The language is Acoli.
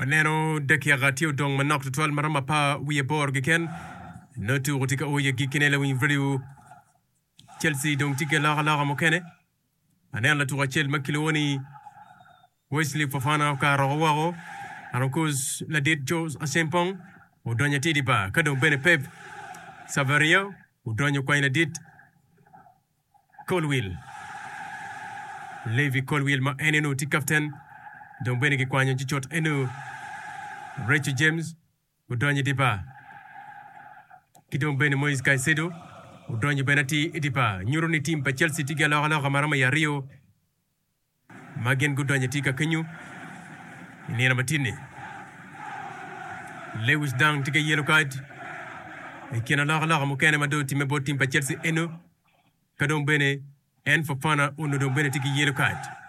Waneno dakika tye odong manok tutwal ma romo apar wiye aboro keken. Nongo tuko tye ka o i agikkine lawiny radio. Chelsea dong tye ki alokaloka mukene. Aneno latuko acel ma kilwongo ni Wesley Fofana okato woko. And of course ladit Jose Acheampong odonyo atir i bar. Ka dong bene Pep Savaria odonyo okwanyo ladit Colwill. Levi Colwill ma en eno tye kapten dong bene kikwanyo ci cut eno Reece James odonyo i dye bar ki dong bene Moises Caicedo odonyo bene atir i dye bar. Nyuto ni tim pa Chelsea tye ki alokaloka ma romo i aryo ma gin gudonyo atir ka kenyo i nino matin-ni. Lewis Dunk tye ki yellow card i kin alokaloka mukene ma dong otimme bot tim pa Chelsea eno ka dong bene en Fofana onongo dong bene tye ki yellow card.